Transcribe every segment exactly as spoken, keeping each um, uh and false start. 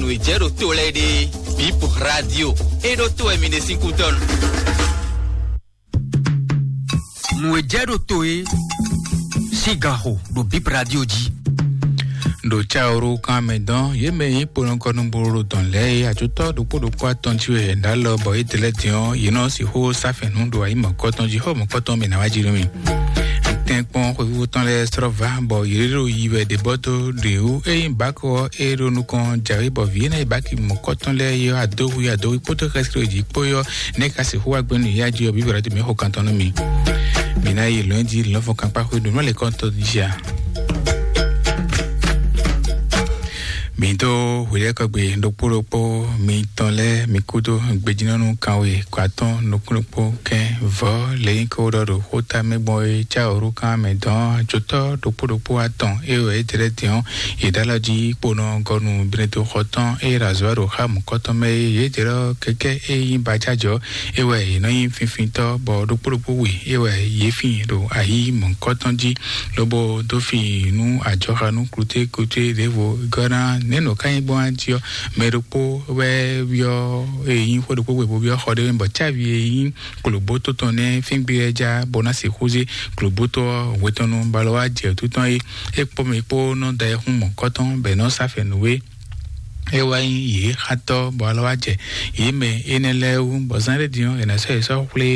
Nǔ e jɛ ɖo to lɛ́ɛ ɖe, Bip Radio. É ɖó to wɛ mi ɖe sín kútɔ́nu. Nǔ e jɛ ɖo to é sín ganxo ɖo Bip Radio jí. Ɖo Caoro kan mɛ dɔn, yě mɛ nyí kponɔkɔnúgboro ɖo dɔn lɛ́ɛ é, atsutɔ ɖokpó ɖokpó atɔn jí wɛ yě ɖó alɔ bɔ é dlɛ́ din ɔ́, yě nɔ sixú sá fɛ̌n nú ɖo ayi mɔ̌kɔtɔn jí, xó mɔ̌kɔtɔn mɛ ná wá jí nú mì. Tɛ́nkpɔ́n xwéfúfú tɔn lɛ́ɛ slɔ́ vǎ, bɔ yě ɖo yi wɛ ɖě bɔ́ dó ɖě wú. Ényí bǎkɔ ɔ́, é ɖo nukɔn jǎwe, bɔ vǐ énɛ́ e bǎki mɔ̌kɔtɔn lɛ́ɛ ɔ́, adóhwi adóhwi kpódó xɛsi ɖo jǐ kpó ɔ́, nɛ́ ka sixú wá gbɛ́ nú yá jí ɔ́, bǐ bǐ ɖo mɛ xo kantɔn nú mi. Mǐ ná yi lɔ̌nyijǐ lɔ̌nfɔ́n kankpáxwé ɖo nú lɛ̌kɔ́ntɔ́ jí a? Mǐ dó hwelɛ́kɔgbe ɖokpó ɖokpó mitɔn lɛ́ɛ, mi kúdó gbejínɔ́nú kanwe kɔ atɔ́ɔ́n nukúnnukpó kɛ́n vɔ̌ lě nyí kó ɖɔ ɖo xóta mɛ gbɔn é cá wǒ ɖó kan mɛ dɔn ajotɔ́ ɖokpó ɖokpó atɔn é wɛ é tlɛ din ɔ́, yě ɖó alɔ jí kponɔ gɔnu Beneto xɔ tɔn é ɖo azɔ̌ ɖo xá mɔ̌kɔtɔn mɛ é. Yě jɛ ɖɔ kɛkɛ é nyí bajajɔ é wɛ yě nɔ nyí finfintɔ́, bɔ ɖokpó ɖokpó we é wɛ yě fin ɖo ayi mɔ̌kɔtɔn jí, lobo dó fi nú ajɔxanú kluté kluté ɖěvo gɔ́ ná nɛ̌ nɔ ká nyí gbɔn jí ɔ́, mɛ ɖokpó wɛ byɔ́ e nyí xó ɖokpó gbe bó byɔ́ xɔ ɖé mɛ, bɔ cávi e nyí klobóto tɔn nɛ́ fíngbé ɛ já bó ná sixú zé klobóto ɔ́ hwetɔnnu balɔ wá jɛ títɔn é. É kpó mɛ kpó nɔ da ɛ hún mɔ̌kɔtɔn bɔ è nɔ sá fɛ̌ nú é. É wá nyí yě xatɔ́ bɔ alɔ wá jɛ yě mɛ énɛ́ lɛ́ɛ wú, bɔ zán ɖé din ɔ́, è nǎ sɔ́ yě sɔ́ xwlé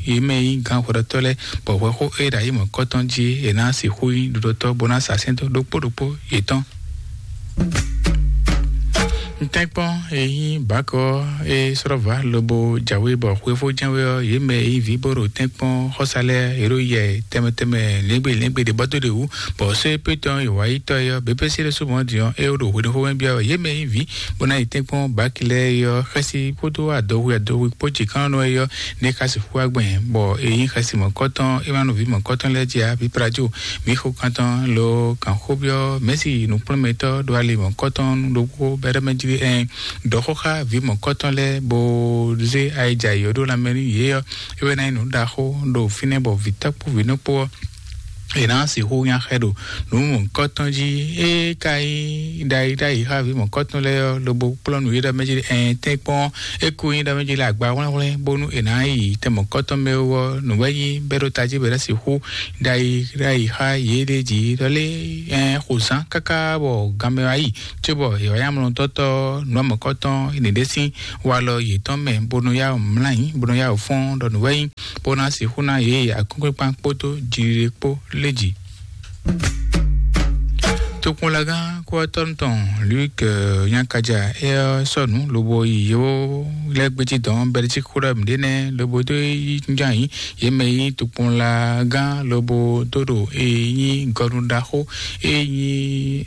yě mɛ nyí gǎn hwɛɖɔtɔ́ lɛ́ɛ, bɔ hwɛxó é ɖo ayi mɔ̌kɔtɔn jí è nǎ sixú nyí ɖuɖɔtɔ́ bó ná sa sɛ́n dó ɖokpó ɖokpó yětɔn. Ntɛ́nkpɔ́n e nyí bǎkɔ é slɔ́ vǎ lobo jǎwe bɔ xwefó jɛ́n wé ɔ́, yě mɛ e nyí vǐ bó ɖo tɛ́nkpɔ́n xɔ́sá lɛ́ɛ, yě ɖo yɛ tɛnmɛ tɛnmɛ lɛ́ngbé lɛ́ngbé ɖě bɔ́ dó ɖě wú, bɔ sɔ́ é pétɔ́ e wǎ yi tɔ́ é ɔ́, běbési ɖésú mɔ̌ din ɔ́, é ɖo hweɖéxómɛ byɔ́ wɛ. Yě mɛ e nyí vǐ bó ná yi tɛ́nkpɔ́n bǎki lɛ́ɛ é ɔ́, xɛsi kpódó adɔhwe adɔhwe kpó jǐkánɔ́ é ɔ́, ní é ka sixú wá gbɛn, bɔ è nyí xɛsi mɔ̌kɔtɔn, é ma nɔ vǐ mɔ̌kɔtɔn lɛ́ɛ jí ǎ. Vǐ Prajo, mǐ xo kantɔn lo kǎnxóbyɔ́ mɛ̌si nǔkplɔ́nmɛtɔ́ ɖo ali mɔ̌kɔtɔn ɖokpó bɛ́ɖɛ́ mɛ jí ɛn ɖɔ xó xá vǐ mɔ̌kɔtɔn lɛ́ɛ, bó zé ayijǎ yɔ̌ ɖó lanmɛ nú yě ɔ́, é wɛ ná nyí nǔ ɖaxó ɖo fínɛ́, bɔ vǐ tɔ́ kpó vǐ nɔ kpó ɔ́, è nǎ sixú nya xɛ ɖo nǔ mɔ̌kɔtɔn jí. É ka nyí ɖayi ɖayi xá vǐ mɔ̌kɔtɔn lɛ́ɛ ɔ́, lobo kplɔ́ nǔ yi ɖɔ mɛ jí ɛn tɛ́nkpɔ́n é kú nyí ɖɔ mɛ jí le agba hwlɛ́nhwlɛ́n, bónú è nǎ yi tɛn mɔ̌kɔtɔn mɛ wú ɔ́, nǔ wɛ nyí bɛ́ ɖó tají bɛ́ ɖó sixú ɖayi ɖayi xá yě ɖé jí ɖɔ lé ɛn xo zán káká bɔ ganmɛ wá yi, cóbɔ è wǎ nyí amlɔtɔ́tɔ́ nǔ mɔ̌kɔtɔn è nǐ ɖe sín walɔ yětɔn mɛ, bónú yá mlá yín, bónú yá fɔ́n ɖɔ nǔ wɛ nyí, bó ná sixú ná yě akɔ́nkpinkpan kpódó jiɖiɖe kpó lé jǐ. Tokpɔnlagán kúwatɔ́nu tɔn Luc Nyakaja é ɔ́ sɔ́ nǔ lobo yi yó lɛ́ gbéjí dɔn Bɛlísík xó ɖɔ mǐɖée nɛ́ lobo dó yi jínjɔ́n ayǐ. Yě mɛ e nyí tokpɔnlagán lobo dó ɖo e nyí gɔnu ɖaxó e nyí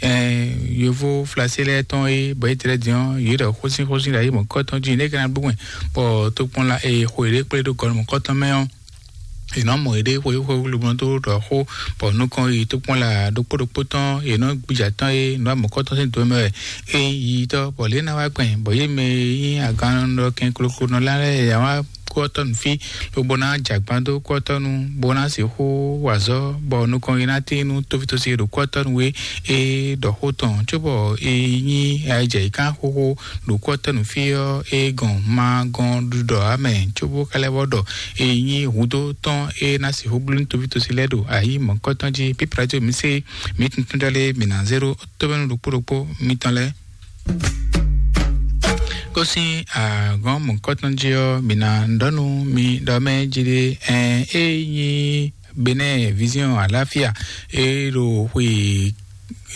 yovó Flasé lɛ́ɛ tɔn é, bɔ é tlɛ din ɔ́, yě ɖɔ xósínxósín ɖo ayǐ mɔ̌kɔ́tɔn jí nɛ́ ka ná bló wɛn, bɔ tokpɔnla e xo yě ɖé kplé ɖó gɔnu mɔ̌kɔ́tɔn mɛ ɔ́, è nɔ mɔ yěɖée xweyíxweyí lobɔ dó ɖɔ xó, bɔ nukɔn yi tokpɔnla ɖokpó ɖokpó tɔn è nɔ gbija tɔn e nǔ amɔ̌kɔ́tɔn sín do mɛ wɛ é yi tɔ́, bɔ lě ná wá gbɛn, bɔ yě mɛ e nyí agannɔ kɛnkloklo nɔ lɛ́ɛ yě wá kú ɔ́ tɔ́ nǔ fí, lobo ná jɛ agban dó kú ɔ́ tɔ́ nu, bó ná sixú wa azɔ̌, bɔ nukɔn yi ná tín nú tófítósi e ɖo kú ɔ́ tɔ́ nu é, é ɖɔ xó tɔn, cóbɔ é nyí ayijɛ yi kán xóxó ɖo kú ɔ́ tɔ́ nu fí ɔ́, é gɔn ma gɔn ɖuɖɔ ǎ mɛ, cóbó ka lɛ́ vɔ ɖɔ é nyí hudó tɔn é ná sixú bló nú tófítósi lɛ́ɛ ɖo ayǐ mɔ̌kɔtɔn jí. Pípla jí omi sé mǐ tuntun ɖɔ lé mǐ ná zé ɖó tóbɛ́nú ɖokpó ɖokpó mitɔn lɛ́ɛ. Kó sín agɔ̌n mɔ̌kɔtɔn jí ɔ́, mǐ ná ɖɔ nú mi ɖɔ mɛ jí ɖé, ɛn é nyí Benin Vision Alafia e ɖo xwe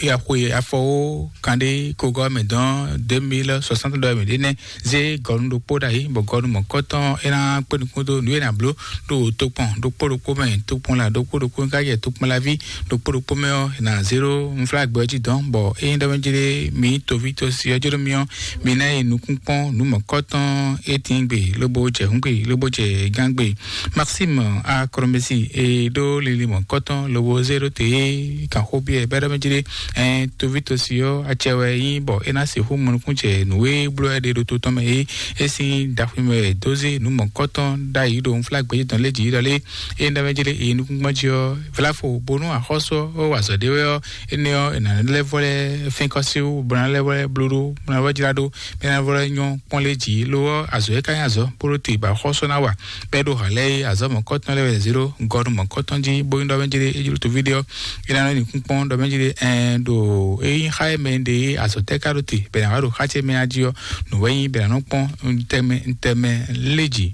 ya xwe afɔwo kanɖé kogɔ mɛ dɔn deux mille soixante dɔ mɛ ɖé nɛ zé gɔnu ɖokpó ɖ'ayǐ, bɔ gɔnu mɔ̌kɔtɔn é ná kpé nukún dó nǔ e ná bló ɖo tokpɔn ɖokpó ɖokpó mɛ, tokpɔnla ɖokpó ɖokpó ka yɛ tokpɔnlaví ɖokpó ɖokpó mɛ ɔ́, è nǎ zé ɖó nflágbɛ ɔ́ jí dɔn, bɔ ényí ɖɔ mɛ jí ɖé mi toví tosi ɔ́ jí ɖó mi ɔ́, mi ná yi nukún kpɔ́n nǔ mɔ̌kɔtɔn é tín gbe lobo jɛ hǔn gbe lobo jɛ gán gbe. Maxime Akromesi e ɖó lili mɔ̌kɔtɔn lobo zé ɖó te é kan xó byɔ́ ɛ bɛ́ ɖɔ mɛ jí ɖé Ɛn, toví tosi ɔ́, acɛ wɛ nyí bɔ é ná sixú mɔ nukún jɛ nǔ e bló wɛ ɖe ɖo to tɔn mɛ é. É sín ɖaxwimɛ wɛ dó zé nǔ mɔ̌kɔtɔn ɖ'ayǐ ɖo nflágbɛ́jɛ́ tɔn lé jǐ ɖɔ lé. É ná mɛ jlé é nukúngbɔ́n jí ɔ́, vlafo bónú axɔ́sú ɔ́ wa azɔ̌ ɖé wɛ ɔ́, énɛ́ ɔ́, è nǎ lɛ́ vɔ lɛ́ fɛ́n kɔ́ sí wú, bó ná lɛ́ vɔ lɛ́ bló ɖó, bó ná vɔ jlá ɖó, bó ná vɔ lɛ́ nyɔ́ kpɔ́n lé jǐ. Lo ɔ́, azɔ̌ é ka nyí azɔ̌ bó ɖó te bɔ axɔ́sú ná wa. Bɛ́ ɖo hǎn lɛ́ɛ é, azɔ̌ mɔ̌kɔtɔn lɛ́ɛ wɛ zě ɖó gɔ́ nú mɔ̌kɔtɔn jí, bó nyí ɖɔ mɛ jlé é jló toví ɖé ɔ́, é ná nɔ nyi kúnkpɔ́n ɖɔ mɛ jlé ɛn ɖo é nyí xá e mɛ ɖe é azɔ̌ tɛ́ ka ɖo te bɛ ná wá ɖo xá ce mɛ a jí ɔ́, nǔ wɛ nyí bɛ ná nɔ kpɔ́n ntɛmɛ ntɛmɛ lé jǐ.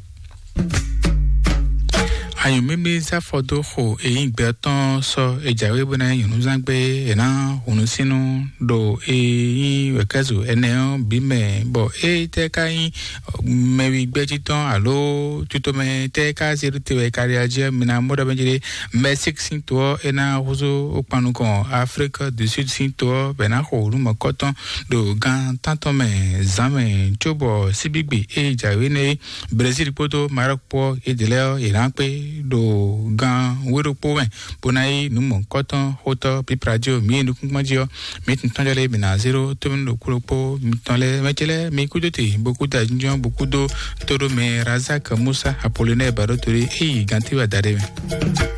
Anyǔmímí sáfɔ dó xo èyí gbɛ tɔn sɔ èjǎwé bó ná nyí nyɔ̌núzán gbé è ná hùnú sínú ɖo èyí wɛ̌kɛ́zù ɛnɛ ɔ́ bǐ mɛ, bɔ é tɛ́ ka nyí mɛwi gbɛ́jí tɔn alo tutomɛ tɛ́ ka zé ɖó te wɛ káɖí ají ɔ́, mi ná mɔ ɖɔ mɛ jí ɖé. Mɛsík sín to ɔ́, é ná húzú ó kpan nukɔn Aflík du Súd sín to ɔ́, bɛ ná xo nǔ mɔ̌kɔtɔn ɖo gan tántɔn mɛ zǎn mɛ, cóbɔ síbígbe e jǎwe nɛ́ é, Brezíl kpódó Marɔ́k kpó ɔ́, é ɖě lɛ́ɛ ɔ́, yě ná kpé ɖo gan wé ɖokpó mɛ, bó ná yí nǔ mɔ̌kɔtɔn xótɔ́ pípla jí ɔ́, mǐ e nukúnkpɔ́n jí ɔ́, mǐ tun tɔ́njɔ lɛ́ɛ bǐ ná zé ɖó tómí ɖokpó ɖokpó mitɔn lɛ́ɛ. Mɛ ce lɛ́ɛ, mi kúdó te bó kúdó ajínjɔ́n bó kúdó tóɖó mɛ Razak Musa Apolonɛ́ɛ Baɖótolé é yi gantí wɛ adaɖé mɛ.